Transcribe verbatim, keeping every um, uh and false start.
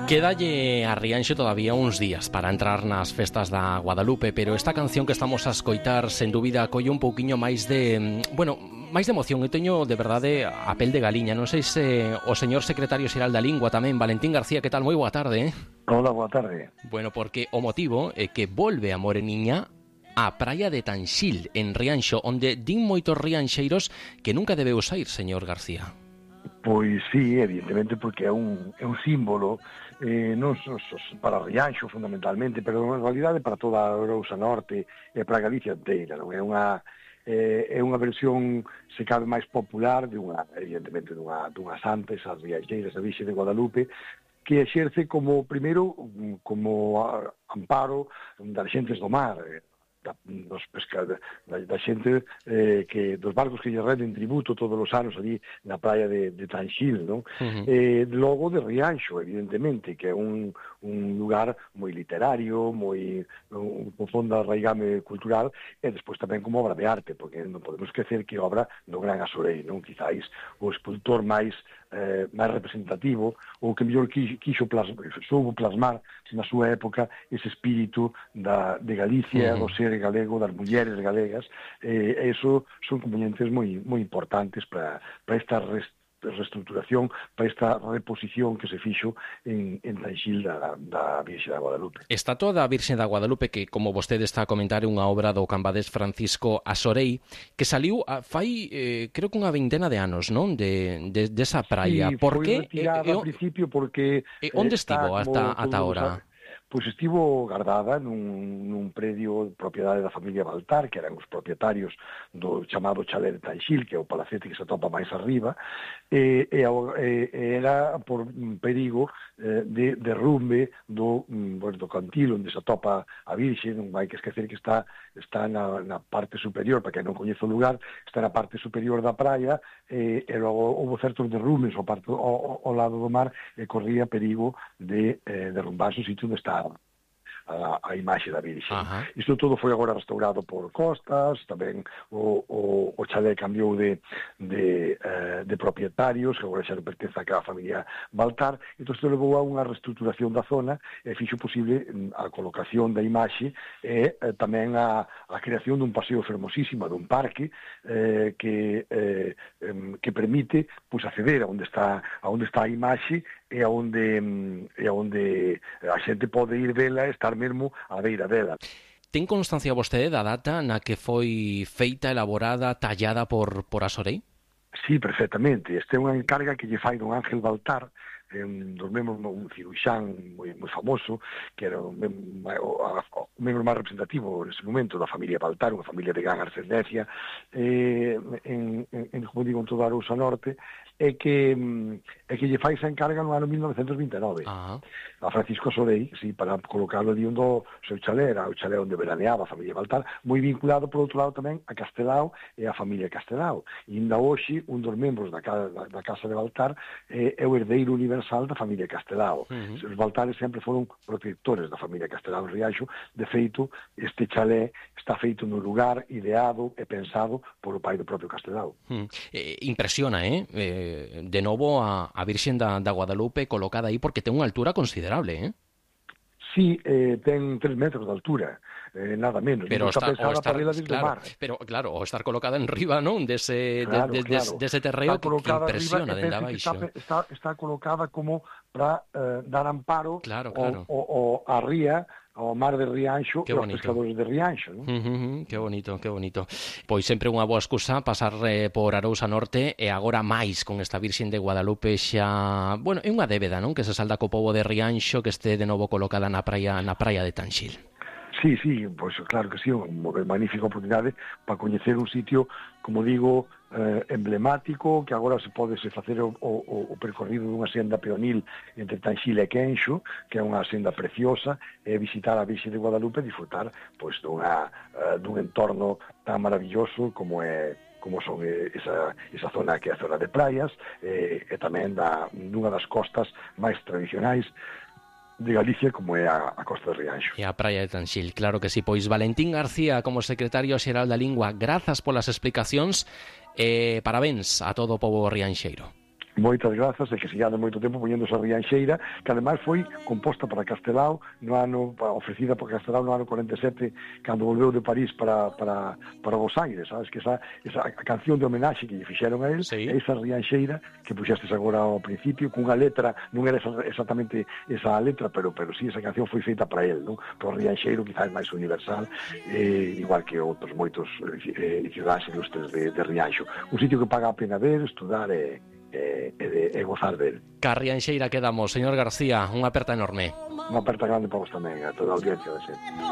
Quédalle a Rianxo todavía uns días para entrar nas festas da Guadalupe, pero esta canción que estamos a escoitar, sen dúbida, colle un pouquiño máis de, bueno, máis de emoción. Eu teño, de verdade, a pel de galiña. Non sei se o señor secretario xeral da Lingua tamén, Valentín García, que tal? Moi boa tarde, eh? Hola, boa tarde. Bueno, porque o motivo é que volve a Moreniña a praia de Tanxil, en Rianxo, onde din moitos rianxeiros que nunca debeu sair, señor García. Pois sí, evidentemente, porque é un, é un símbolo eh, non só para Rianxo fundamentalmente, pero en realidade para toda a Arousa Norte e para Galicia inteira, non é unha eh, é unha versión se cabe máis popular de unha, evidentemente, dunha, dunha santa, esas rianxeiras, a Virxe de Guadalupe, que exerce como, primeiro, como amparo das xentes do mar, Da, dos pesca, da, da xente eh, que dos barcos que lle renden tributo todos os anos ali na praia de, de Tanxil, non? Uh-huh. Eh, logo de Rianxo, evidentemente, que é un, un lugar moi literario, moi un profundo arraigame cultural, e despois tamén como obra de arte, porque non podemos esquecer que obra do gran Asorei, non? Quizáis o escultor máis eh, máis representativo, ou que mellor quixo plasmar, soubo plasmar na súa época ese espírito da, de Galicia, uh-huh. do ser galego, das mulleres galegas, e eh, eso son componentes moi moi importantes para para esta rest, reestructuración, para esta reposición que se fixo en, en Tanxil da, da Virxe da Guadalupe. Está toda a Virxe da Guadalupe, que, como vostede está a comentar, é unha obra do cambadés Francisco Asorei, que saliu a, fai, eh, creo que unha vintena de anos, non? De, de, de esa praia. Sí, Por foi que? retirada eh, ao principio porque... Eh, onde estivo ata, ata ahora? Pois estivo guardada nun, nun predio de propiedade da familia Baltar, que eran os propietarios do chamado Chalet de Tanxil, que é o palacete que se atopa máis arriba, e, e, e era por perigo eh, de derrumbe do, bueno, do cantil onde se atopa a Virxe. Non hai que esquecer que está, está na, na parte superior, para que non coñezo o lugar, está na parte superior da praia, e, e logo houve certos derrumes ao, parte, ao, ao lado do mar, e corría perigo de eh, derrumbarse o sitio onde está A, a imaxe da Virxe. Uh-huh. Isto todo foi agora restaurado por Costas, tamén o, o, o chalé cambiou de, de, eh, de propietarios, que agora xa non pertence a cada familia Baltar, entón isto levou a unha reestructuración da zona e fixo posible a colocación da imaxe e eh, tamén a, a creación dun paseo fermosísimo, dun parque eh, que, eh, que permite pues, acceder a onde está a onde está a imaxe e a onde, e a onde a xente pode ir vela e estar mesmo á beira dela. Ten constancia vostede da data na que foi feita, elaborada, tallada por, por Asorei? Sí, perfectamente. Este é unha encarga que lle fai don Ángel Baltar, un dos membros, un ciruxán moi, moi famoso, que era un, o, o membro máis representativo nese momento da familia Baltar, unha familia de gran ascendencia, eh, en, en, en, como digo, en toda a Arousa Norte, e que, e que lle fai esa encarga no ano mil novecentos vinte e nove. Uh-huh. A Francisco Asorei, sí, para colocarlo ali onde o seu chalé, era o chalé onde veraneaba a familia Baltar, moi vinculado, por outro lado, tamén a Castelao e a familia Castelao. E ainda hoxe, un dos membros da, da, da Casa de Baltar eh, é o herdeiro universal da familia Castelao. Uh-huh. Os Baltares sempre foron protectores da familia Castelao en Rianxo. De feito, este chalé está feito no lugar ideado e pensado por o pai do propio Castelao. Uh-huh. Eh, impresiona, eh? eh de novo a, a Virxen da, da Guadalupe colocada aí, porque ten unha altura considerable, eh? Sí, eh, ten tres metros de altura, eh, nada menos. Pero está, está, pensada estar, para ir claro, mar. Pero claro, o estar colocada en riba, non? Dese, claro, de, de, claro. de, dese terreo que, que impresiona dende abaixo. Está, está, está colocada como para eh, dar amparo claro, claro. O, o, o a ría, ao mar de Rianxo e aos pescadores de Rianxo, non? Uh, uh, uh, que bonito, que bonito. Pois sempre unha boa excusa pasar eh, por Arousa Norte, e agora máis con esta Virxen de Guadalupe xa, bueno, é unha débeda, non? Que se salda co pobo de Rianxo, que este de novo colocada na praia na praia de Tanxil. Sí, sí, pois claro que sí, unha magnífica oportunidade para coñecer un sitio, como digo, eh, emblemático, que agora se pode se facer o, o, o percorrido dunha senda peonil entre Tanxil e Quenxo, que é unha senda preciosa, e visitar a Virxe de Guadalupe e disfrutar pois, dunha, uh, dun entorno tan maravilloso como é como son esa, esa zona que é a zona de praias, e, e tamén da, dunha das costas máis tradicionais de Galicia, como é a, a Costa de Rianxo. E a praia de Tanxil, claro que sí. Pois Valentín García, como secretario xeral da Lingua, grazas polas explicacións e parabéns a todo o pobo rianxeiro. Moitas grazas, e que sigade moito tempo poñendo esa Rianxeira, que ademais foi composta para Castelao no ano, ofrecida por Castelao no ano cuarenta e sete, cando volveu de París para, para, para Buenos Aires, sabes, que esa, esa canción de homenaxe que lle fixeron a él, sí. Esa Rianxeira que puxestes agora ao principio, cunha letra, non era exactamente esa letra, pero pero sí, esa canción foi feita para él, non? Por Rianxeiro, quizás máis universal, eh, igual que outros moitos eh, cidades ilustres de, de Rianxo. Un sitio que paga a pena ver, estudar e e, e, e gozar del. Carrianxeira quedamos, señor García, unha aperta enorme. Unha aperta grande para vos tamén, a toda a audiencia de sempre.